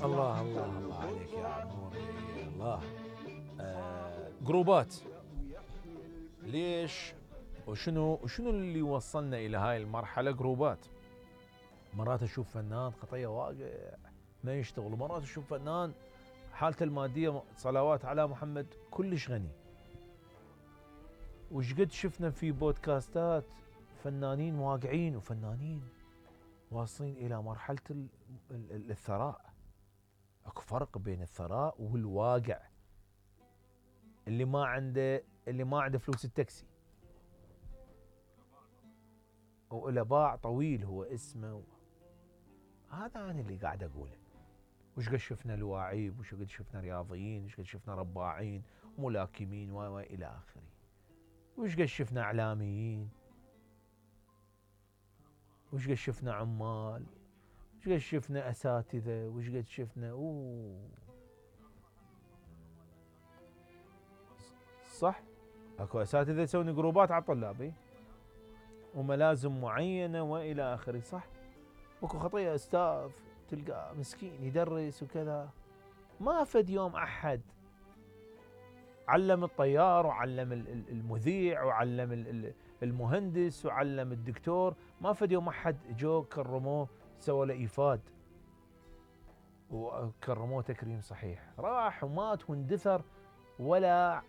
الله الله الله عليك يا عموري الله. جروبات ليش وشنو اللي وصلنا الى هاي المرحله؟ جروبات. مرات اشوف فنان خطيه واقع ما يشتغل، ومرات اشوف فنان حالته الماديه صلوات على محمد كلش غني. وش قد شفنا في بودكاستات فنانين واقعين وفنانين واصلين الى مرحله الثراء. اكو فرق بين الثراء والواقع. اللي ما عنده فلوس التاكسي وإلى باع طويل هو اسمه. هذا أنا اللي قاعد أقوله. وش قد شفنا لواعيب، وش قد شفنا رياضيين، وش قد شفنا رباعين ملاكمين وإلى آخره. وش قد شفنا إعلاميين، وش قد شفنا عمال، وش قد شفنا أساتذة، وش قد شفنا صح؟ اكو أساتذة يسوون جروبات على الطلاب وملازم معينة وإلى آخره، صح؟ وكو خطية أستاذ تلقى مسكين يدرس وكذا، ما فد يوم أحد علم الطيار وعلم المذيع وعلم المهندس وعلم الدكتور، ما فد يوم أحد جو كرموه سوى له إيفاد وكرموه تكريم صحيح. راح ومات واندثر ولا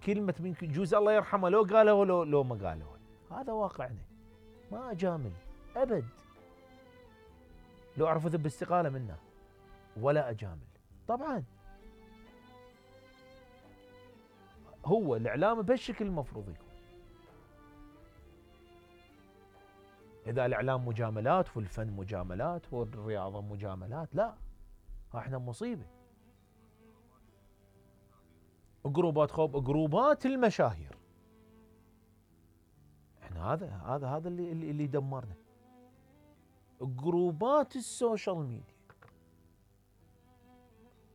كلمة من جوز الله يرحمه لو قاله لو ما قاله. هذا واقعنا، ما أجامل أبد. لو أعرف أذب استقالة منه ولا أجامل. طبعا هو الإعلام بهالشكل المفروض يكون. إذا الإعلام مجاملات والفن مجاملات والرياضة مجاملات، لا احنا مصيبة. جروبات جروبات المشاهير، احنا هذا اللي يدمرنا. جروبات السوشيال ميديا،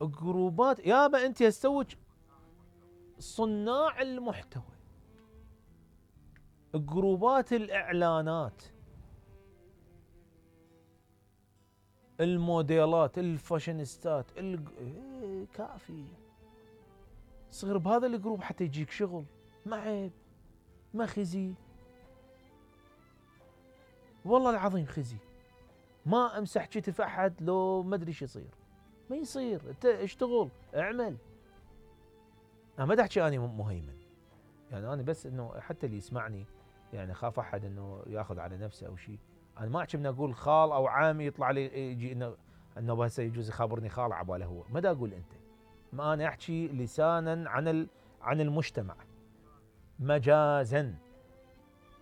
جروبات يابا انت يستوج صناع المحتوى، جروبات الاعلانات، الموديلات، الفاشينيستات، كافي. صغر بهذا الجروب حتى يجيك شغل، ما عيب، ما خزي، والله العظيم خزي. ما امسح كتف احد لو ما ادري ايش يصير، ما يصير. انت اشتغل اعمل. انا ما احكي اني مهيمن، يعني انا بس انه حتى اللي يسمعني يعني خاف احد انه ياخذ على نفسه او شيء. انا ما احكي من اقول خال او عامي يطلع لي يجي انه هسه يجوز يخابرني خال عباله هو، ما دا اقول انت. ما انا احكي لسانا عن المجتمع مجازا،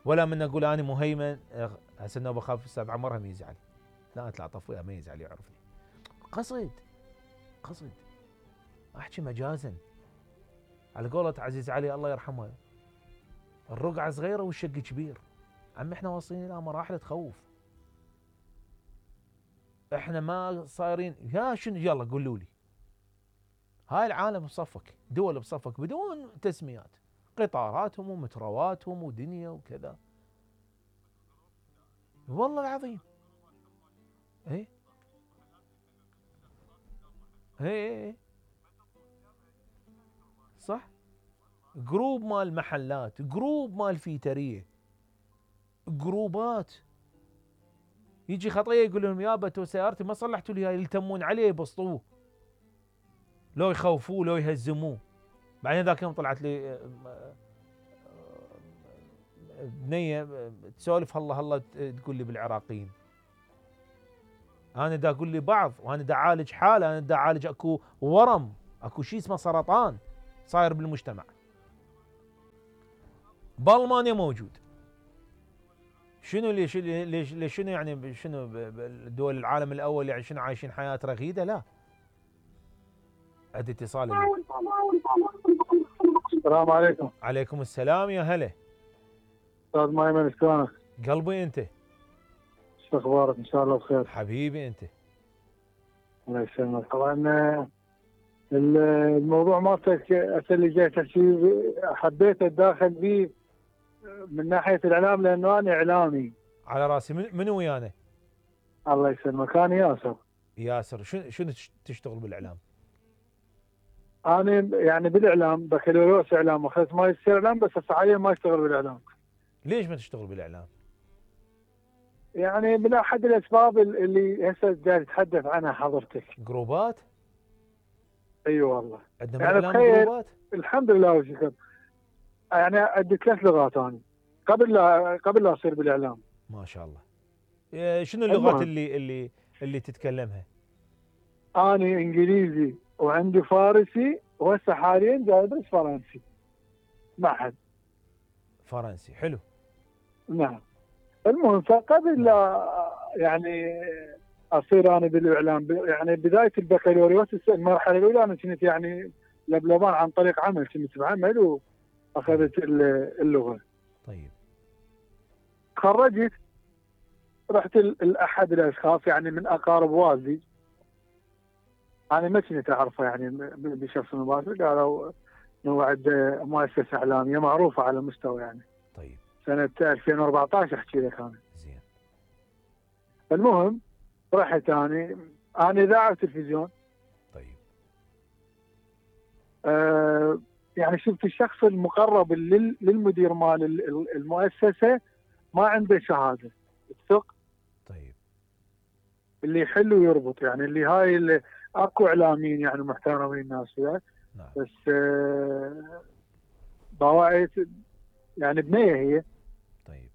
ولا من اقول انا مهيمن. هسه انه بخاف استاذ عمر هم يزعل. لا اطلع طفويا ما يزعل يعرفني. قصد احكي مجازا. على قولة عزيز علي الله يرحمه، الرقعة صغيرة والشق كبير. عم احنا واصلين الى مراحل تخوف. احنا ما صايرين يا شنو، يلا قولوا لي. هاي العالم بصفك، دول بصفك بدون تسميات، قطاراتهم ومترواتهم ودنيا وكذا. والله العظيم. ايه صح. جروب مال محلات، جروب مال فيتريه، جروبات. يجي خطيه يقول لهم يابا تو سيارتي ما صلحتوا لي هاي، يلتمون عليه يبسطوه، لو يخوفوه لو يهزموه. بعدين ذاك يوم طلعت لي بنيه تسولف هلا تقول لي بالعراقيين. انا دا اقول لي بعض، وانا دا اعالج حاله، انا دا اعالج اكو ورم، اكو شيء اسمه سرطان صاير بالمجتمع. بالمانيا موجود. شنو ليش شنو يعني شنو دول العالم الاول يعني شنو عايشين حياه رغيده؟ لا. عندي اتصال. السلام عليكم. عليكم السلام يا هلا. استاذ مايمن شلونك؟ قلبي انت. شو اخبارك؟ ان شاء الله بخير. حبيبي انت. الله يسلمك. طبعا الموضوع مالتك اللي جاي تحكي حبيت اتداخل به من ناحيه الاعلام لانه انا اعلامي. على راسي. منو ويانا؟ الله يسلمك. انا ياسر. ياسر شنو تشتغل بالاعلام؟ انا يعني بالاعلام بكالوريوس اعلام، اخذت ماجستير اعلام، بس هسه حاليا ما اشتغل بالاعلام. ليش ما تشتغل بالاعلام؟ يعني من احد الاسباب اللي هسه جاي تتحدث عنها حضرتك. جروبات؟ اي أيوة والله. عندنا يعني بالاعلام تخيل، جروبات؟ الحمد لله والشكر. يعني ادي 3 لغات انا قبل لا اصير بالاعلام. ما شاء الله. شنو اللغات اللي تتكلمها؟ انا انجليزي وعندي فارسي، وهسه حاليا جاي ادرس فرنسي معهد. فرنسي حلو. نعم. المهم فقبل لا يعني اصير انا بالاعلام، يعني بدايه البكالوريوس المرحله الاولى انا كنت يعني لبلبان عن طريق عمل، كنت بعمل واخذت اللغه. طيب. خرجت، رحت لاحد الاشخاص يعني من اقارب والدي، انا ما كنت اعرفه يعني بشخص مباشر، قالوا انه عنده مؤسسه اعلاميه معروفه على مستوى يعني. طيب. سنه 2014 احكي لك انا. زين. المهم رحت انا اذاعه وتلفزيون. طيب. يعني شفت الشخص المقرب للمدير مال المؤسسه ما عنده شهاده الثق. طيب. اللي يحل ويربط، يعني اللي هاي اللي اكو اعلاميين يعني محترمين الناس وياه. نعم. بس بواعيت يعني بنيه هي. طيب.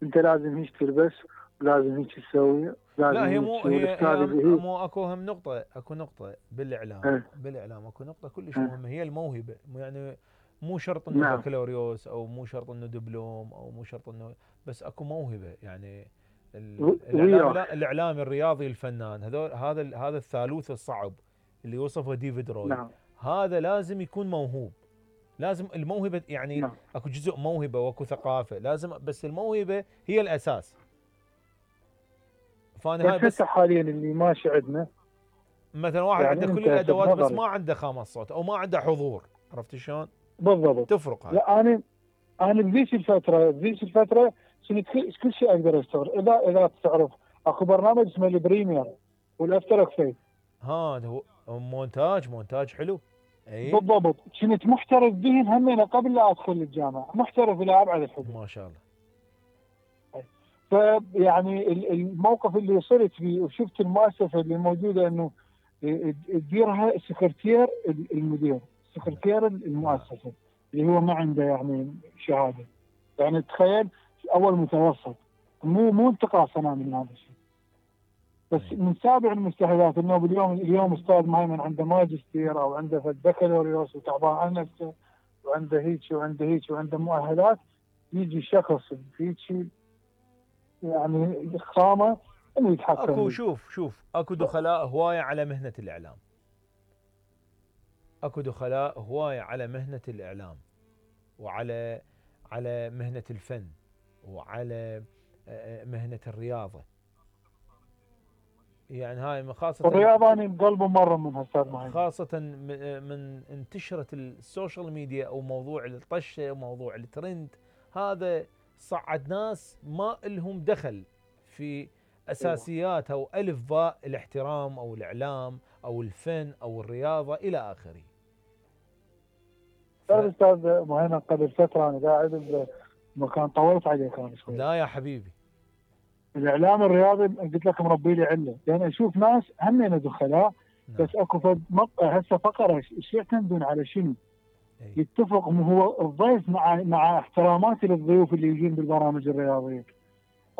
انت لازم هيك تلبس، ولازم هيك تسوي، لازم لا، هي هيك مو تسوي. هي اللي هي مو اكو هم نقطة، اكو نقطة بالاعلام. اه. بالاعلام اكو نقطة كلش اه. مهمة، هي الموهبة. يعني مو شرط انه نعم. بكالوريوس، او مو شرط انه دبلوم، او مو شرط انه، بس اكو موهبة يعني. الاعلامي، وياك. لا الاعلامي الرياضي الفنان، هذا الثالوث الصعب اللي وصفه ديفيد روي. نعم. هذا لازم يكون موهوب. لازم الموهبة يعني. نعم. اكو جزء موهبة واكو ثقافة لازم، بس الموهبة هي الاساس. فانا هاي بس بس. هسه حاليا اللي ماشي عندنا، مثلا واحد يعني عنده كل انت هسه الادوات بس بنظري. ما عنده خامة صوت او ما عنده حضور. عرفت شلون؟ بالضبط. تفرق هاي. لا انا بذيك الفتره كنت كل شيء اقدر اشتغل. اذا تعرف اكو برنامج اسمه البريمير والافتر افكت. هذا هو مونتاج حلو. اي. بالضبط. كنت محترف بهن همين قبل لا ادخل الجامعه، محترف الى ابعد الحدود. ما شاء الله. فيعني الموقف اللي وصلت فيه وشفت المؤسسه اللي موجوده انه تديرها سكرتير المدير، سكرتير المؤسسه اللي هو ما عنده يعني شهاده. يعني تخيل، اول متوسط، مو انتقاص انا من هذا الشيء، بس من سابع المستحيلات انه اليوم استاذ مهيمن عنده ماجستير او عنده بكالوريوس وتعبان عن نفسه وعنده هيك وعنده هيك وعنده مؤهلات، يجي شخص هيك يعني خامه انه يتحكم اكو، فيه. شوف اكو دخلاء هواية على مهنة الاعلام. اكو دخلاء هواية على مهنة الاعلام، وعلى مهنة الفن، وعلى مهنة الرياضة. يعني هاي خاصة. الرياضه انا بقلبه مره منها استاذ مهيمن. خاصة من انتشرت السوشيال ميديا، او موضوع الطشة وموضوع الترند. هذا صعد ناس ما لهم دخل في اساسيات او الف باء الاحترام او الاعلام او الفن او الرياضة الى اخره. استاذ مهيمن قبل فتره انا قاعد بمكان طولت عليك انا شوي. لا يا حبيبي. الاعلام الرياضي قلت لك مربي لي عله، لان اشوف ناس همين دخلاء. نعم. بس اكو هسه فقره ايش يعتمدون على شنو؟ أي. يتفق هو الضيف مع احتراماتي للضيوف اللي يجون بالبرامج الرياضيه.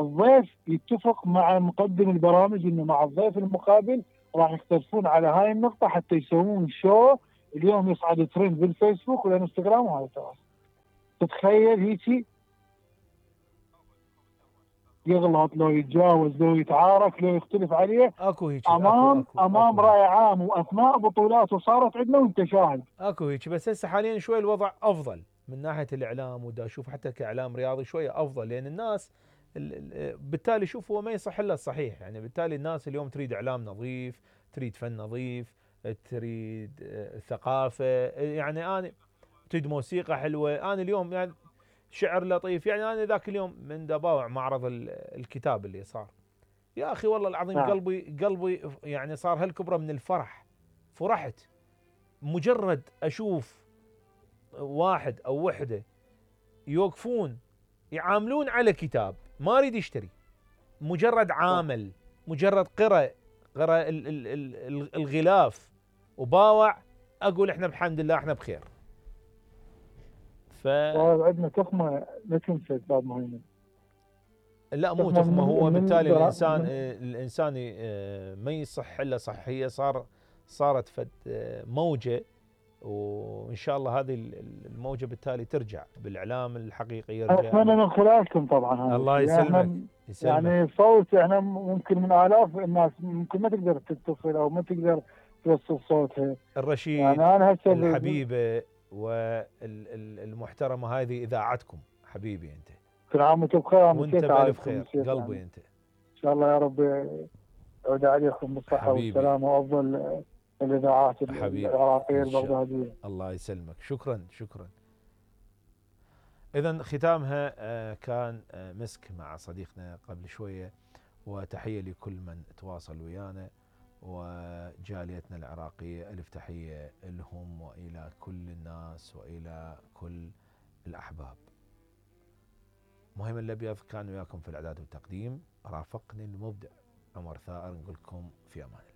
الضيف يتفق مع مقدم البرامج انه مع الضيف المقابل راح يختلفون على هاي النقطه حتى يسوون شو اليوم يصعد ترند بالفيسبوك والانستغرام وهاي التواصل. تتخيل هيجي يغلط، لو يتجاوز، لو يتعارك، لو يختلف عليه اكو هيك. امام راي عام واثناء بطولات وصارت عندنا وانت شاهد. اكو هيك، بس هسه حاليا شوي الوضع افضل من ناحيه الاعلام، ودا اشوف حتى كاعلام رياضي شويه افضل، لان الناس بالتالي شوف هو ما يصح الا الصحيح. يعني بالتالي الناس اليوم تريد اعلام نظيف، تريد فن نظيف، تريد ثقافه. يعني انا تريد موسيقى حلوه. انا اليوم يعني شعر لطيف. يعني انا ذاك اليوم من دباوع معرض الكتاب اللي صار، يا اخي والله العظيم نعم. قلبي يعني صار هالكبره من الفرح. فرحت مجرد اشوف واحد او وحده يوقفون يعاملون على كتاب، ما اريد يشتري، مجرد عامل، مجرد قرأ الغلاف وباوع، اقول احنا بحمد الله احنا بخير. عندنا تخمه لا تنسى استاذ مهيمن. لا مو تخمه، هو بالتالي الانسان ما يصح الا صحيه، صارت فد موجه، وان شاء الله هذه الموجه بالتالي ترجع بالاعلام الحقيقي يرجع. اتمنى من خلالكم طبعا هذا الله يسلمك. يعني صوت احنا ممكن من الاف الناس ممكن ما تقدر تتصل او ما تقدر توصل صوتها. الرشيد يعني انا هسه الحبيبه والمحترمه هذه اذاعتكم حبيبي انت. كل عام وانتم بخير. وانت بالف خير قلبي يعني. انت. ان شاء الله يا رب يعود عليكم بالصحه والسلامه وافضل الاذاعات العراقيه البغداديه. الله يسلمك. شكرا. اذا ختامها كان مسك مع صديقنا قبل شويه، وتحيه لكل من تواصل ويانا، وجاليتنا العراقيه الف تحيه لهم والى كل الناس والى كل الاحباب. مهيمن الابيض كان وياكم في الاعداد والتقديم، رافقني المبدع عمر ثائر، نقول لكم في امان الله.